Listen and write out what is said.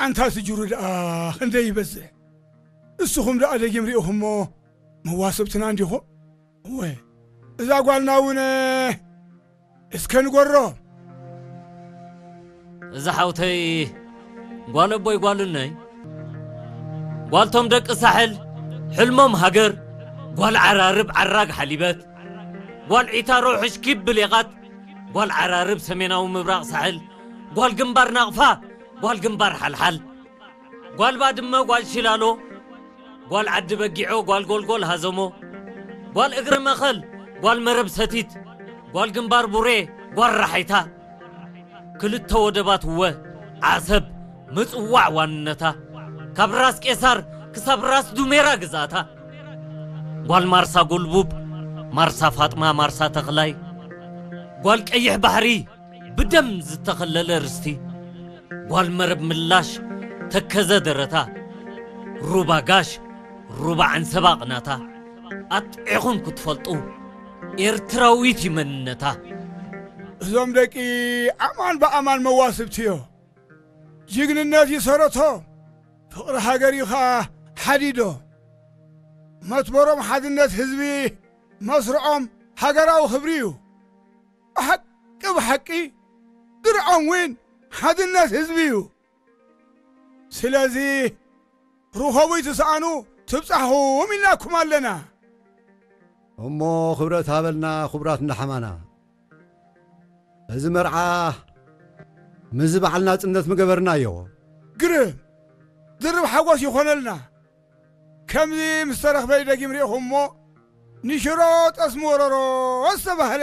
ኣንታ ስጅሩ ደኣ ክንደይ ይበዝሕ። እስኹም ደኣ ደጊም ርኢኹሞ መዋስብትና እንዲኹም። እወ፣ እዛ ጓልና እውን እስከ ንጎሮ። እዛ ሓውተይ ጓል ኣቦይ ጓል እነይ፣ ጓልቶም ደቂ ሳሕል፣ ሕልሞም ሃገር፣ ጓል ዓራርብ ዓራግ ሓሊበት፣ ጓል ዒታሮ ሕሽኪብ ብሌቓት፣ ጓል ዓራርብ ሰሜናዊ ምብራቕ ሳሕል፣ ጓል ግንባር ናቕፋ፣ ጓል ግንባር ሓልሓል፣ ጓል ባድመ፣ ጓል ሽላሎ፣ ጓል ዓዲ በጊዖ፣ ጓል ጎልጎል ሃዘሞ፣ ጓል እግሪ መኸል፣ ጓል መረብ ሰቲት፣ ጓል ግንባር ቡሬ፣ ጓል ራሓይታ፣ ክልተ ወደባት እወ ዓሰብ ምጽዋዕ ዋንነታ፣ ካብ ራስ ቄሳር ክሳብ ራስ ዱሜራ ግዛታ፣ ጓል ማርሳ ጎልቡብ፣ ማርሳ ፋጥማ፣ ማርሳ ተኽላይ፣ ጓል ቀይሕ ባሕሪ ብደም ዝተኸለለ ርስቲ፣ ጓል መረብ ምላሽ ተከዘ ደረታ፣ ሩባ ጋሽ ሩባ ዓንሰባ ቅናታ፣ ኣጥዒኹም ክትፈልጡ ኤርትራዊት እዩ መንነታ። እዞም ደቂ ኣማን ብኣማን መዋስብቲ እዮ። ጅግንነት እዩ ሰረቶ፣ ፍቕሪ ሃገር እዩ ኸኣ ሓዲዶ። መትበሮም ሓድነት ህዝቢ፣ መስርዖም ሃገራዊ ክብሪ እዩ። ብሓቂ ብሓቂ ድርዖም እውን ሓድነት ህዝቢ እዩ። ስለዚ ርኸቡ ይትስኣኑ ትብጻሕኹም ኢልናኩም ኣለና። እሞ ክብረት ሃበልና ክቡራት እንዳሓማና። እዚ መርዓ ምስዚ በዓል ናጽነት ምገበርናዮ። ግርም ድርብ ሓጎስ ይኾነልና። ከምዚ ምስ ተረኽበ ደጊም ርኢኹም እሞ ንሽሮ ጠስሚ ወረሮ ዝተባህለ።